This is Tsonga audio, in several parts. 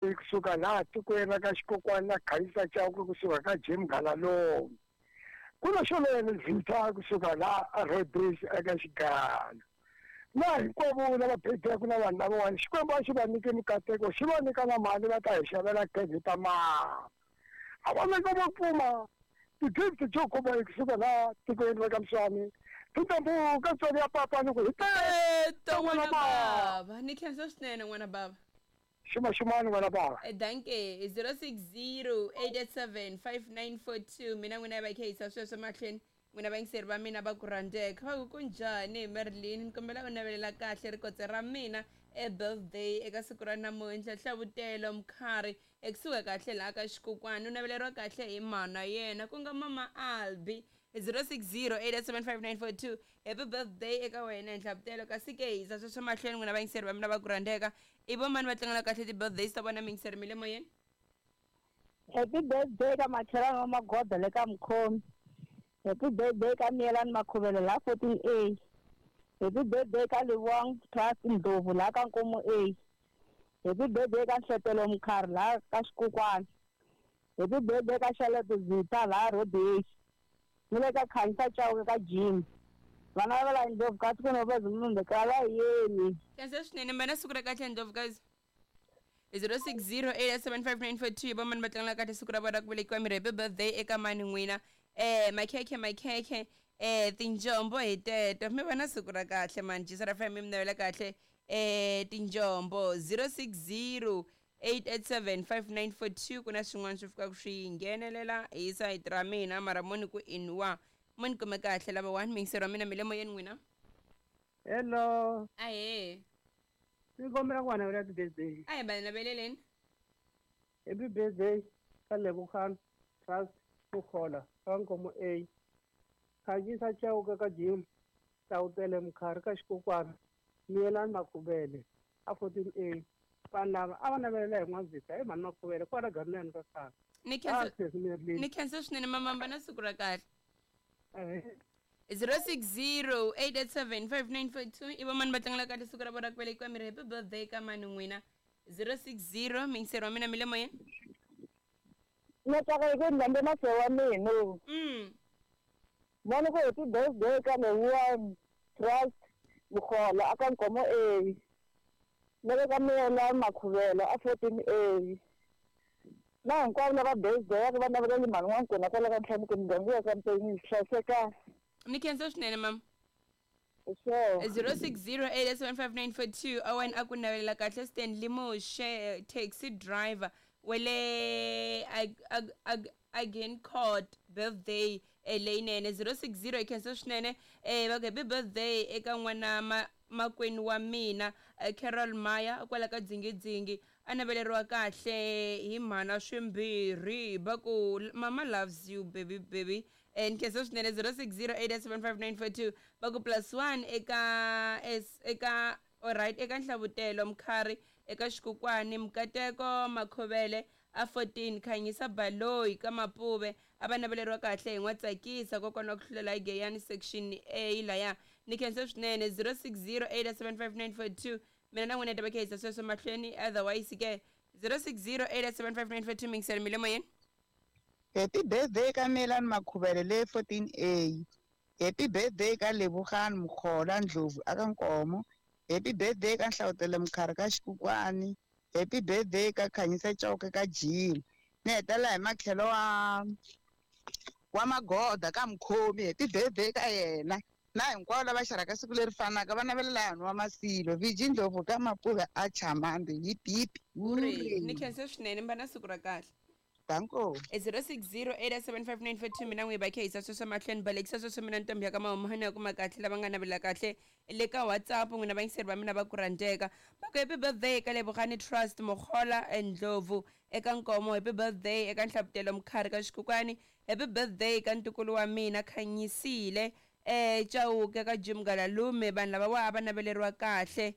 Kusuka laha tikweni ra ka xikokwani na Khanyisa Chauke kusuka ka Jim Galalome. Ku na Xolele Zitha kusuka laha a Rhodes eka Xigalo. Na hinkwavo lava bebeke na vanhu lavawani Xikwembu a xi va nyike mikateko xi va nyika na mali va ta hi xavela khekhe ta mapa. A va nyika va kuma ti-gift to kuma kusuka laha tikweni ra ka Mswani ti ta mbuka tswari ya papa ni ku hi Teto n'wana bava ni khensa swinene n'wana bava. Xuma xumani n'wana bava. Danke 060 887 5942 mina n'wina yi va khe yisa sweswo mahlweni n'wina vayingiseri va mina va ku rhandzeka va ku kunjhani Merlin ni kombela u navelela kahle rikotse ra mina e birthday eka siku ra namuntlha hlavutelo mkhari ekusuka kahle laha ka xikokwani u naveleriwa kahle hi mhana yena ku nga mama Albi 060 8875942 happy birthday eka wena nhlavutelo kasi ke hisa sweswo mahlweni n'wina vayingiseri va mina va ku rhandzeka i vo mani va tlangela kahle ti-birthdays ta vona miyingiseri mi le moyeni. Happy birthday ka makhelwani wa Magoda le ka Mkhomi. Happy birthday ka Miyelani Makhuvele la 14A. Happy birthday ka Livhuwang Trust Ndlovu la ka Nkomo A. Happy birthday ka Nhletelo Mkhari la ka Xikukwani. Happy birthday ka Charlotte Zitha la Rhodesia. Ni le ka Khanyisa Chauke ka Jim. Vana va la Ndlovukazi ku no munhu kala yeni. Khensa swinene mi va na siku ra kahle Ndlovukazi. 060 875 hi vamani va tlangela kahle siku ra vona ra ku velekiwa miri happy birthday eka mani n'wina makhekhe makhekhe tinjombo hi teto mi va na siku ra kahle mani jisa ra fm mi navela kahle tinjombo 060 887 5942 ku na swin'wana swi fikaka swi nghenelela hi sayiti ra mina mara mo ni ku inwa mo ni kume kahle lava one miyingiseri wa mina mi le moyeni n'wina. Hello. Ahee. Ni kombela ku va navela happy birthday. A hi va naveleleni. Happy birthday ka Lebogang Trust Mukhola ka Nkomo A. Khanyisa Chauke ka Jim Hlawutele Mkhari ka Xikokwana Miyelani Makhuvele a 14A. Vanhu lava a va navelela hi N'wazitha hi mhani Makhuvele kwala Ganani ka khale. Ni khensa ni khensa swinene mamamba na siku ra kahle. 060 887 5942 i vamani va tlangela kahle siku ra vona ra ku velekiwa miri happy birthday ka mani n'wina 060 miyingiseri wa mina mi le moyeni. Na tsaka hi ku ndhambe masewa wa mina. Vona ku happy birthday ka Lebogang Trust Mukhola aka Nkomo A. Na le ka Miyelani Makhuvele a 14A. Na hinkwavo lava birthday va navelela mhani wa nkona kwala ka ntlhanu ku muganga wa ka Mpenyi hlayiseka. Ni khensa swinene mama. Sure. 060 875 Owen a ku navelela kahle Stanley Moshe taxi driver wele again court birthday leyinene 060 hi khensa swinene va ku happy birthday eka n'wana makwenu wa mina Carol Maya kwala ka dzingidzingi a naveleriwa kahle hi mhana swimbirhi va ku mama loves you baby baby ni khensa swinene 060 875 va ku +1 eka eka alright eka Nhlavutelo Mkhari eka Xikukwani Mkateko Makhovele a 14 Khanyisa Baloyi ka Mapuve a va naveleriwa kahle hi N'watsakisa kokwana wa ku hlulela hi Geyani section A laya ni khensa swinene 060 875 mina na n'wina ta va khensa sweswo mahlweni otherwise ke 060 875 mingiselo mi le moyeni. Happy birthday ka Miyelani Makhuvele le 14A. Happy birthday ka Lebogang Mukhola Ndlovu aka Nkomo. Happy birthday ka Nhlavutelo Mkhari ka Xikukwani. Happy birthday ka Khanyisa Chauke ka Jim. Ni hetelela hi matlhelo wa Magoda ka Mkhomi. Happy birthday ka yena. Na hinkwavo lava xaraka siku leri fanaka va navelela hanhu wa Masilo. Viji Ndlovu ka Mapuve a Chamambi. Hip hip. Ni khensa swinene mi va na siku ra kahle. Danko. 060 875 mina n'wi va khehisa sweswo mahlweni balekisa sweswo mina ntombi ya ka mahumani ya kuma kahle lava nga navela kahle le ka WhatsApp n'wina vayingiseri va mina va ku rhandzeka va ku happy birthday ka Lebogang Trust Mukhola Ndlovu eka Nkomo happy birthday eka Nhlavutelo Mkhari ka Xikukwani happy birthday ka ntukulu wa mina Khanyisile Chauke ka Jim Galalume vanhu lava wa va naveleriwa kahle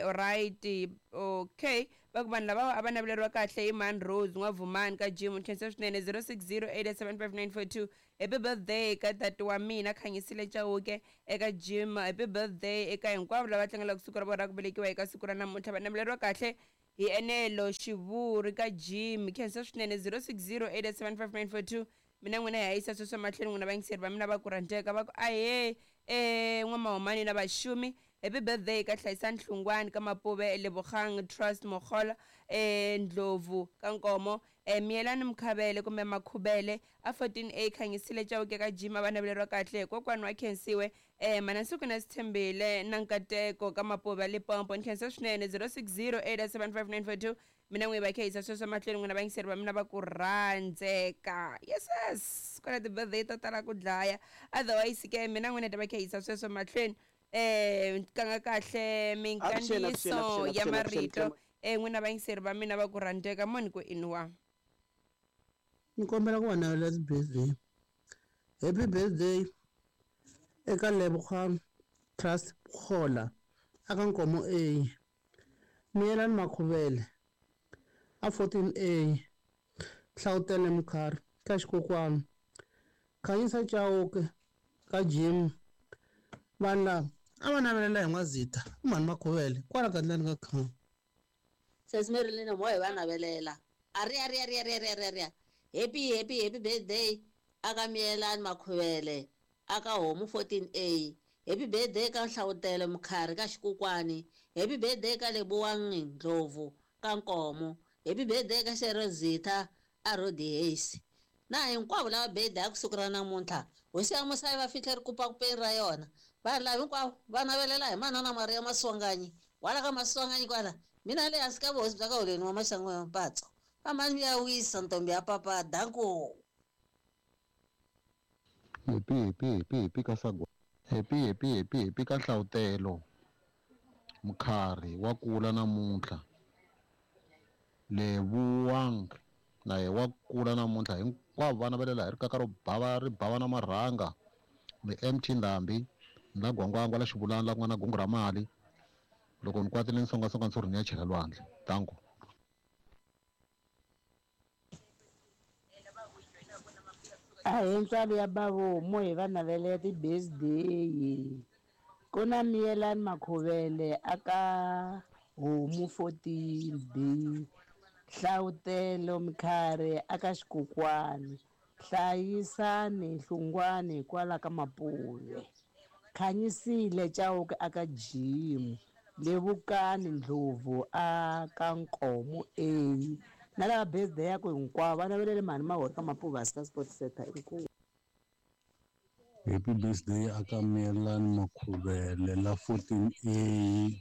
alright okay va ku vanhu lava a va naveleriwa kahle hi Man Rose N'wavumani ka Jim khensa swinene 060 875 happy birthday ka tati wa mina Khanyisile Chauke eka Jim happy birthday eka hinkwavo lava tlangelaka siku ra vona ra ku velekiwa eka siku ra namuntlha va naveleriwa kahle Hi enelo xivuri ka Jim. Khensa swinene 0608875942. Mina n'wina hi hayisa sweswo mahlweni n'wina vayingiseri va mina va ku rhandzeka va ku ahee n'wamahumani na vaxumi. Happy birthday ka Hlayisani Hlungwani ka Mapuve, Lebogang Trust Mokgola, Ndlovu ka Nkomo, Miyelani Mkhavele kumbe Makhubele a 14A Khanyisile Chauke ka Jim a va naveleriwa kahle hi kokwani wa Khensiwe, Mana Nsuku na Sithembile na Nkateko ka Mapuve Limpopo. Ni khensa swinene 0608875942. Mina n'wi va khehisa sweswo mahlweni n'wina vayingiseri va mina va ku rhandzeka. Yes yes, ku na ti-birthday to tala ku dlaya. Otherwise ke mina n'wina ta va khehisa sweswo mahlweni. Kanga kahle minkandziyiso ya marito n'wina vayingiseri va mina va ku rhandzeka moni ku inwa. Ni kombela ku va navelela ti-birthday. Happy birthday eka Lebogang Trust Khola aka Nkomo A. Miyelani Makhuvele a 14A. Hlawutele Mkhari ka Xikokwani. Khanyisa Chauke ka Jim. Vanhu lava a va navelela hi N'wazita mhani Makhuvele kwala gandlani ka khale. Sesi Marilyn mo hi va navelela. Aria ria ria ria ria ria. Happy happy happy birthday aka Miyelani Makhuvele aka Homu 14A. Happy birthday ka Hlawutele Mkhari ka Xikokwani. Happy birthday ka Lebogang Ndlovu ka Nkomo. Happy birthday ka Sherozita a Rodihesi. Na hinkwavo lava birthday ya kusuku ra namuntlha. Hosi ya Musa yi va fihle rikupakupeni ra yona. Vanhu lava hinkwavo va navelela hi manana Maria Maswanganyi. Wala ka Maswanganyi kwala. Mina le hansi ka vuhosi bya ka Holweni wa Maxangu ya Mpatso. Amani ya wisa ntombi ya papa danko. Happy happy happy happy ka sagwa. Happy happy happy happy ka Hlawutelo. Mkhari wa kula namuntlha. Lebogang na ye wa kula namuntlha hinkwavo va navelela hi rikaka ro bava ri bava na marhanga. Ni MT Ndhambi na Gwangwangwa la Xivulana la ku nga na gungu ra mali. Loko ni kwatile ni songasonga ni ni ya chela lwandle. Danko. A hi ntswalo ya bavomo hi va navelela ti-birthday. Ku na Miyelani Makhuvele aka Homu 14B. Hlawutelo Mkhari aka Xikokwani. Hlayisani Hlungwani kwala ka Mapuve. Khanyisile Chauke aka Jim. Levukani Ndlovu aka Nkomo A. Na lava birthday ya ku hinkwavo va navelele mhani Mahori ka Mapuve Star Sports Center inkomu. Happy birthday aka Miyelani Makhuvele la 14A.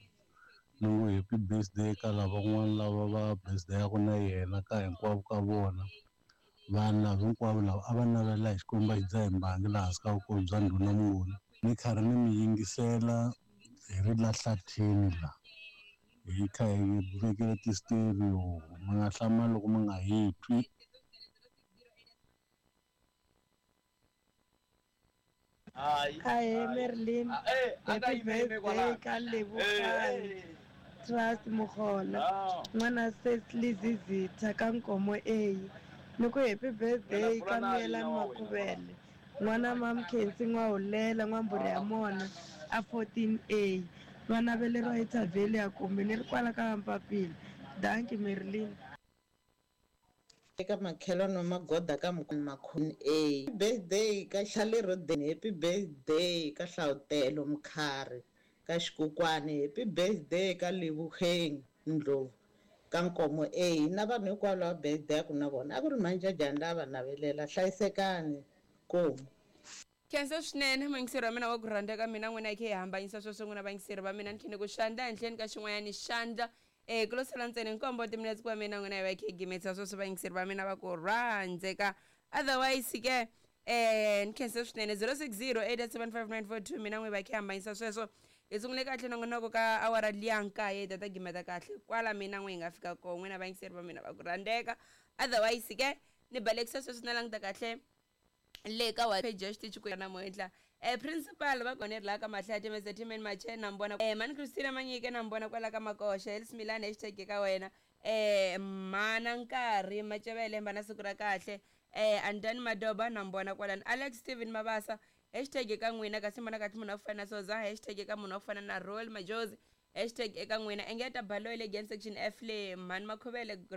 Ni happy birthday ka lavan'wana lava va birthday ya ku na yena ka hinkwavo ka vona. Vanhu lava hinkwavo lava a va navelela hi Xikwembu xi dzaha mbangi laha hansi ka vukosi bya ndhuna Mnguni. Ni karhi ni mi yingisela hi ri la hlathini la. Hi kha hi vekele ti-stereo mi nga hlamali loko mi nga hi twi. Ahee Marilyn, happy birthday ka Lebogang Trust Mokgola n'wana Cecily Zizitha ka Nkomo A. Ni ku happy birthday ka Miyelani Makhuvele n'wana Mamkhensi N'wahulela N'wamburi ya Mona a 14A. Va naveleriwa hi Thavheli ya kumbe ni ri kwala ka Mpapila. Danki Marilyn. Eka makhelwani wa Magoda ka Makhuni A. Happy birthday ka Charlie Roden. Happy birthday ka Hlawutelo Mkhari ka Xikokwani. Happy birthday ka Lebogang Ndlovu ka Nkomo A. Na vanhu hinkwavo lava birthday ya ku na vona a ku ri manjajani lava navelela. Hlayisekani komu. Khensa swinene muyingiseri wa mina wa ku rhandzeka mina n'wina hi khe hi hambanyisa sweswo n'wina vayingiseri va mina ni khe ni ku xandla henhleni ka xin'wanyani xandla. Ku lo sala ntsena nkombo timinetse ku va mina n'wina hi va hi khe hi gimetisa sweswo vayingiseri va mina va ku rhandzeka. Otherwise ke ni khensa swinene 0608875942 mina n'wi va khe hambanyisa sweswo. Hi sungule kahle nongonoko ka awara liya nkaye hi ta gimeta kahle kwala mina n'wi hi nga fika kona n'wina vayingiseri va mina va ku rhandzeka. Otherwise ke ni balekisa sweswo na languta kahle le ka wa page ya xitichi ku namuntlha. Principal va kona la ka Mahlati Mr Timen Mache na mbona mani Christina Manyike na mbona kwala ka Makoxa Elsmilani hashtag ka wena mana nkarhi Macevele mbana siku ra kahle Andani Madoba na mbona kwala Alex Steven Mabasa hashtag ka n'wina kasi mbona kahle munhu wa ku fana na Soza hashtag ka munhu wa ku fana na Roll Majozi Hashtag eka n'wina. Engeta Baloyi le Gen Section F le Mhani Makhuvele.